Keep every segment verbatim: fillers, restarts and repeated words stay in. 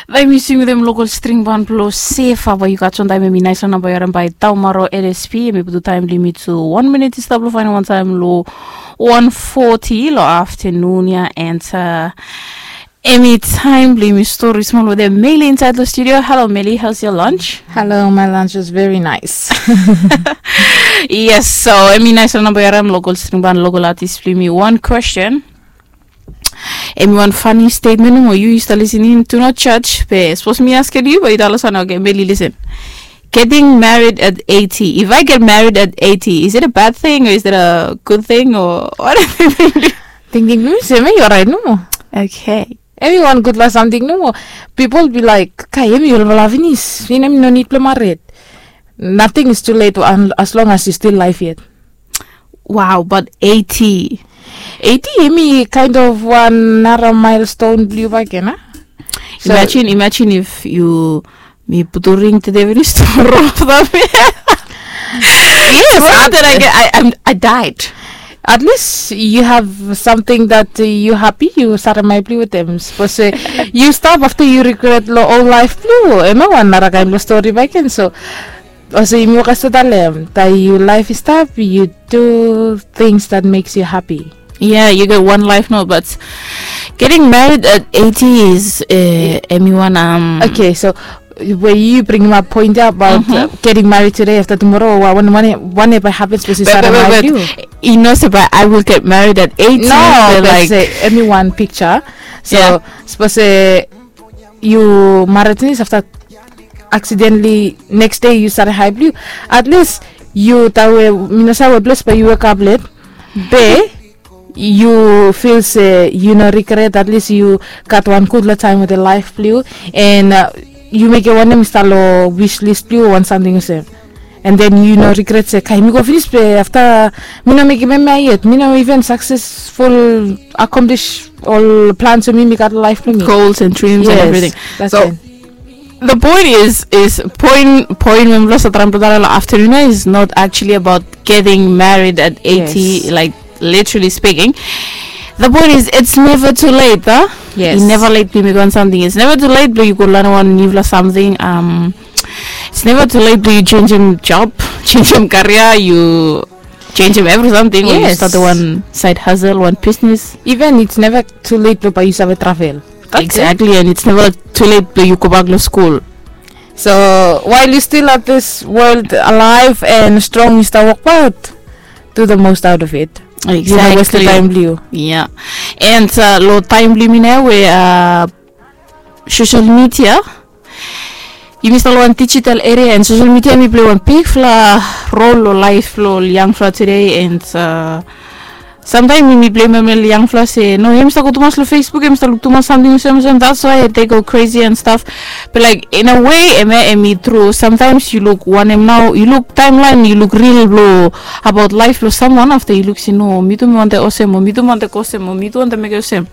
Bae mi swim wetem lokal string ban blong Sefa. Bae yu gat wan taem, em i nais long namba yu harim bae Taumaro L S P. Em i putum taem blong yumi tu wan minit i stap long faenem wan taem long wan foti long aftenun ya. And uh, em i taem blong yumi stori smol wetem Meli insaed long studio. Hello Meli, how's your lunch? Hello, my lunch was very nice. Yes, so em i nais long namba yu harim lokal string ban, lokal atis blong yumi. Wan kwestin. Em i wan fani stetmen nomo, yu yu stap lisin in, do not judge. Be sapos mi askem yu bae yu talem olsem, okay, Meli, lisin. Getting married at eighty. If I get married at eighty, is it a bad thing or is it a good thing or what? Tingting blong mi se em i oraet nomo. Okay. Em i wan gudfala samting nomo. Pipol bi laek, kai, em i olfala finis, em i no nid blong mared. Nothing is too late as long as yu stil laef yet. Wow, but eighty. Eighty em i kind of wan nara milestone blong yu bakegen, a? So, imagine, imagine if yu, mi putum ring tede finis tumoro afta mi. Yes, afta I, I, I'm, I died. At least you have something that uh, you happy, you sarem ai blong yu wetem. Sapos se yu stap afta yu regret long ol laef blong yu, em i wan nara kaen blong stori bakegen. So olsem yumi wok stap talem, taem yu laef i stap, you do things that makes you happy. Yeah, you get one life, no, but getting married at eighty is uh, em i wan um, okay, so we yu bringim ap poen ya abaot uh, getting married today, afta tumoro, wanem bae hapens sapos yu sarem ai blong yu. Yu no se bae I will get married at eighty. No, be like, se em i wan piksa. So sapos se yu mared finis, afta accidentally next day yu sarem ai blong yu, at least yu taem we mi no save we ples bae yu wekap let, be yu fil se yu no regret, at least yu gat wan gudfala taem wetem laef blong yu, and uh, yu mekem wanem i stap long wish list blong yu, wan samting olsem. And then yu no regret se, kai, mi go finis be afta mi no mekem hemia yet, mi no even successful accomplish ol plans blong mi mi gat long laef blong mi. Goals and dreams and everything. So the point is, is point, point we mifala save traem blong talem long aftenun ya is not actually about getting married at eighty, like, literally speaking. The point is, it's never too late, a? Yes. I never late blong yu mekem wan samting. It's never too late blong yu go lanem wan niufala samting. Um, it's never too late blong yu jenisim job, jenisim karia, yu jenisim evri samting, o yu statem wan side hustle, wan bisnis. Even it's never too late blong bae yu save travel. Exactly, and it's never too late blong yu gobak long skul. So while you still at this world alive and strong, yu stap wokbaot, do the most out of it. Exactly. Yu no westem taem blong yu. Yeah. And uh, long taem blong yumi nao we uh, social media, yumi stap long wan digital area, and social media em i plei wan bigfala rol long laef blong ol yangfala tede. And uh, samtaem yumi bleim ol yangfala se, no, hemi stap go tumas long Facebook, hemi stap luk tumas samting olsem olsem, that's why they go crazy and stuff. But like, in a way, hemia em i tru. Samtaem yu luk wanem nao, yu luk taemlaen, yu luk ril blong abaot laef blong samwan, afta yu luk se, no, mi tu mi wantem olsem, o mi tu mi wantem go olsem, o mi tu wantem mekem olsem.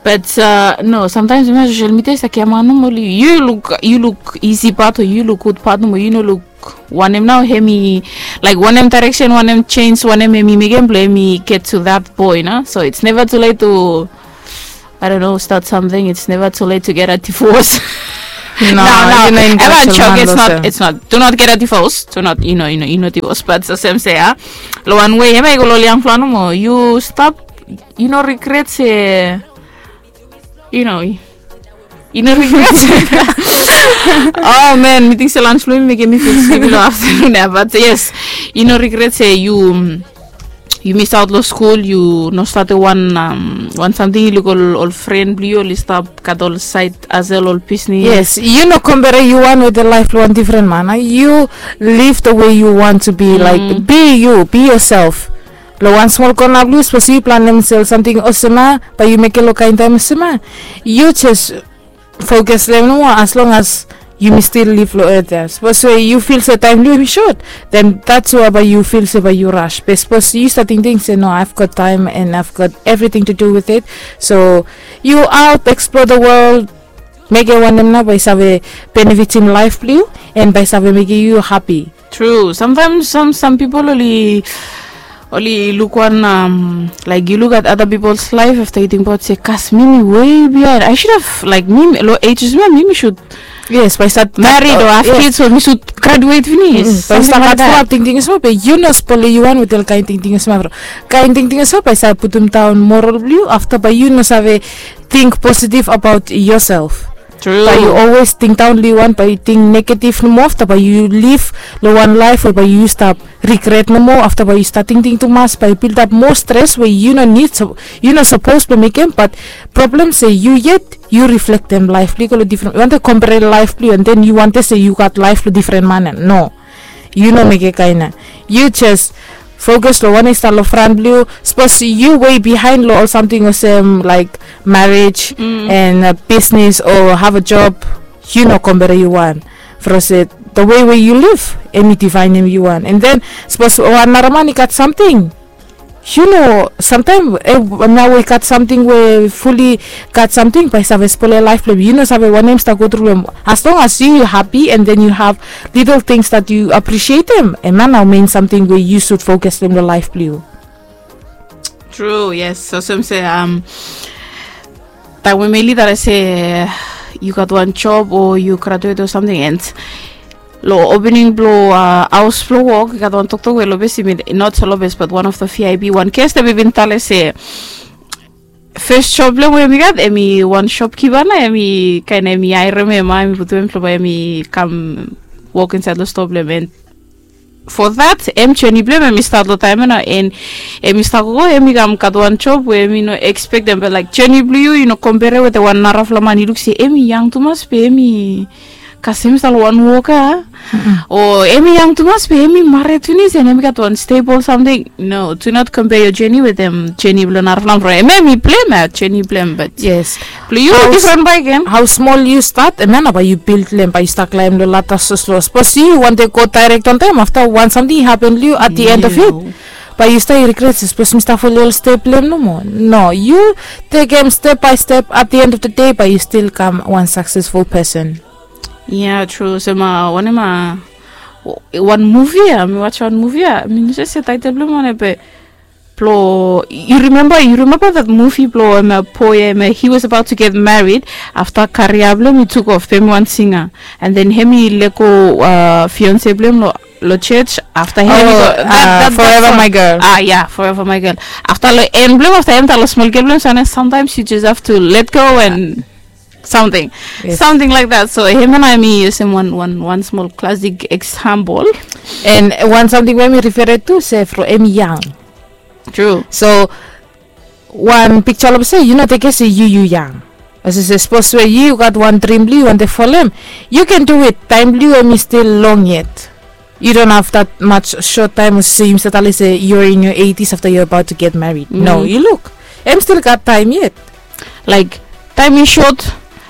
But uh, no, samtaem hemia social media i stap giaman nomo, oli yu luk, yu luk isi pat o yu luk gud pat nomo, yu no luk wanem nao hemi, like, wanem direction, wanem change, wanem hemi mekem blong hemi get to that point, a? So it's never too late to, I don't know, start something. It's never too late to get a divorce. No, no, no. It's not. It's not. Do not get a divorce. Do not, you know, you know, you know, divorce. But olsem se, a, long wan wei, hemia i go long ol yangfala nomo, yu stap, yu no regret se, you know, yu no regret. Oh man, mi ting se lunch blong mi mekem mi feel sleepy long aftenun ya, but yes, yu no regret se yu, yu misaot long skul, yu no statem wan, um, wan samting, yu luk ol, ol fren blong yu oli stap gat ol side hustle, ol bisnis. Yes, yu no compare yu wan wetem laef blong wan difren man, a? Yu live the way you want to be, like, be you, be yourself. Long wan smol kona blong yu, sapos yu planem sel samting olsem ya, bae yu mekem long kaen taem olsem ya. Yu jes fokus long hem nomo, as long as yumi stil liv long earth ya. Sapos we yu fil se taem blong yu hemi sot, then that's why bae yu fil se bae yu rush. Be sapos yu stap tingting se, no, I've got time and I've got everything to do with it. So yu out, explore the world, mekem wanem nao bae i save benefitim laef blong yu, and bae i save mekem yu hapi. Tru. Samtaem sam, sam pipol oli, oli luk wan, um, like, yu luk at other people's life afta yu tingbaot se, kas, mi mi way behind, I should have, like, mi mi- lo age is mi mi should Yes, bae start marit o have kids o mi should graduate finis. Bae stap gat fulap tingting olsem, be yu no spole yu wan wetem ol kaen tingting olsem, bro. Kaen tingting olsem bae stap putum daon moral blong yu, afta bae yu no save ting positive about yourself. Bae yu always ting daon long yu wan, bae yu ting negative nomo, afta bae yu live long wan laef we bae yu stap regret nomo, afta bae yu stap tingting tumas, bae yu bildap moa stres we yu no nid, yu no sapos blong mekem, bat problem se yu yet yu reflektem laef blong yu go long difren, yu wantem kompare laef blong yu, and then yu wantem se yu gat laef blong difren man ya. No, yu no mekem kaen ya. Yu jes fokus long wanem i stap long fran blong yu. Sapos yu way behind long ol samting olsem laik marriage and bisnis o have a job, yu no kompare yu wan. From se the way we yu live, em i difaenem yu wan. And then sapos wan nara man i gat samting, yu no, samtaem nao we i gat samting we fuli gat samting bae i save spole laef blong em. Yu no save wanem i stap go tru long em. As long as yu yu hapi and then yu have little things that yu appreciatem, em ya nao mein samting we yu sud fokus long em long laef blong yu. Tru, yes. Olsem se, um, taem we mi lida se yu gat wan job o yu graduate o samting, and long opening blong, uh, haos blong wok, i gat wan toktok we long bes i min, not so long bes, bat wan of the V I P, wan guest, em i bin talem se fes job blong em we em i gat, em i wan shopkeeper na, em i kaen em i haerem em, em i putum em blong bae em i kam wok insaed long stoa blong em. And for that, em journey blong em, em i stat long taem ya nao, and em i stap go, em i kam gat wan job we em i no ekspektem, bat laek journey blong yu, yu no kompare wetem wan narafala man, yu luk se em i yang tumas be em i kasem i stap long wan wok ya, o em i yang tumas be em i mared finis and em i gat wan stable samting. No, do not compare your journey wetem journey blong narafala man, from em em i blem ya journey blong em, bat yes, blong yu difren bae gen. Hao smol yu stat, em ya nao bae yu bil long em, bae yu stap klaem long lada soslo. Sapos yu wantem go daerek wantaem, afta wan samting i hapen long yu at the end of it, bae yu stap regret se, sapos mi stap folem ol step blong em nomo. No, yu tekem step bae step, at the end of the day bae yu stil kam wan successful person. Ya, tru. Olsem, uh, wanem, uh, wan muvi ya, mi wajem wan muvi ya, mi no save se taetel blong em wanem, be blong, yu rimemba, yu rimemba that muvi blong em ya, boy ya, em ya, he was about to get married, afta karia blong em i tuk of, be em i wan singa, and then hem i lego, uh, fiance blong em long, long church, afta hem i go, that, that, Forever My Girl. Ah, ya, Forever My Girl. Afta long en blong em, afta hem talem long smol gel blong em se, sometimes you just have to let go and samting, samting laek that. So hemia nao hemi yusum wan, wan, wan smol klasik eksampol. And wan samting we mi refere tu se from hemi yang. Tru. So wan piksa olsem se yu no tekem se yu yu yang. Olsem se sapos we yu gat wan drim blong yu, yu wantem folem, yu ken du it. Taem blong yu hemi stil long yet. You don't have that much short time, olsem se yumi save talem se you're in your eighties after you're about to get married. No, yu luk, hem stil gat taem yet. Laek, taem i sot,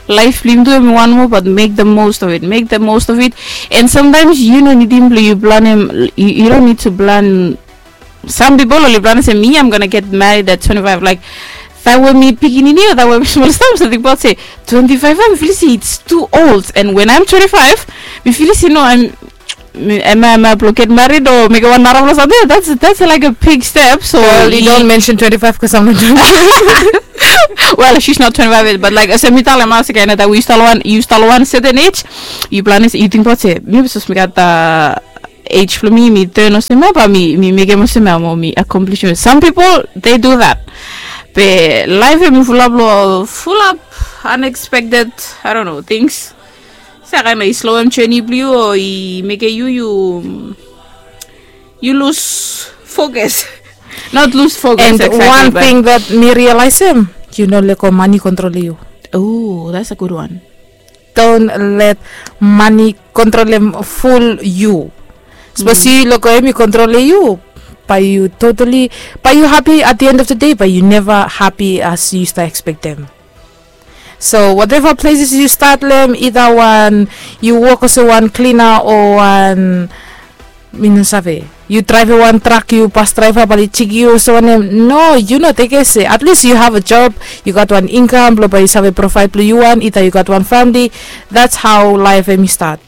laef blong yumi tu hemi wan moa, but make the most of it, make the most of it. And sometimes yu no nidim blong yu planem, you, you don't need to plan. Some people oli planem se, me, I'm gonna get married at twenty-five. Laek, taem we mi pikinini o taem we mi smol stap, mi save tingbaot se twenty-five, mi filim se it's too old. And when I'm twenty-five, mi filim se no, I'm, mi, am I, am I blong get married o mekem wan narafala samting? That's, that's like a big step. So girl, you don't mention twenty-five because I'm not twenty-five. Well, she's not twenty-five yet, but laek, olsem mi talem, olsem kaen taem we yu stap long wan, yu stap long wan certain age, yu planem, yu tingbaot se mi sapos mi gat, uh, age blong mi, mi turn olsem ya, bae mi, mi mekem olsem ya, mo mi accomplish. Some people, they do that. Be laef hemi fulap long, fulap unexpected, I don't know, things. Olsem kaen i sloem journey blong yu o i mekem yu, yu, yu lus focus. Not lus focus exactly, but one thing that mi realize, yu no lego mane kontrolem yu. Oh, that's a good one. Don't let mane kontrolem ful yu. Sapos yu lego hemi kontrolem yu, bae yu totally, bae yu hapi at the end of the day, bae yu neva hapi as yu stap ekspektem. So whatever places yu stat long hem, either wan yu wok olsem wan klina o wan, mi no save, yu draevem wan trak, yu bas draeva, bae oli jeki yu olsem wanem. No, yu no tekem se, at least you have a job, yu gat wan income blong bae yu save provide blong yu wan, either yu gat wan famili. That's how laef hemi stat.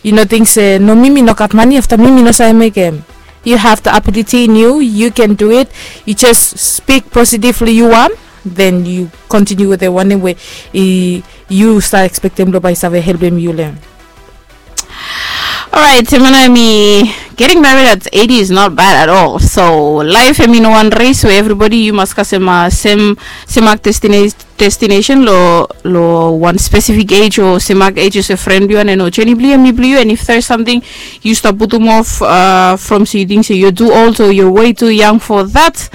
Yu no ting se, no, mi mi no gat mane, afta mi mi no save mekem. You have the ability in you, you can do it. You just speak positively, you want, then you continue with the one way. You start expecting lo by save help him you learn. Alright, Simona, mi getting married at eighty is not bad at all. So life, I mean, one race where everybody you must kasem uh, same same act destination destination lo lo one specific age or same act age as a friend you and no journey blue and me blue and if there's something you stop putum off uh, from so you think so you do also you're way too young for that.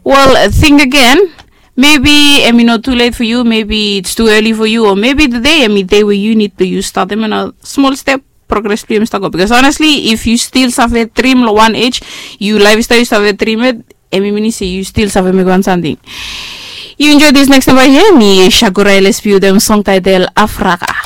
Well, think again. Maybe I mean not too late for you. Maybe it's too early for you, or maybe the day I mean day where you need to you start them in a small step progress pli mista go because honestly if you still save dream lo one age you lifestyle you save dream it emi mini se you still save make one something. You enjoy this next number here mi shakura lspu dem song title Africa.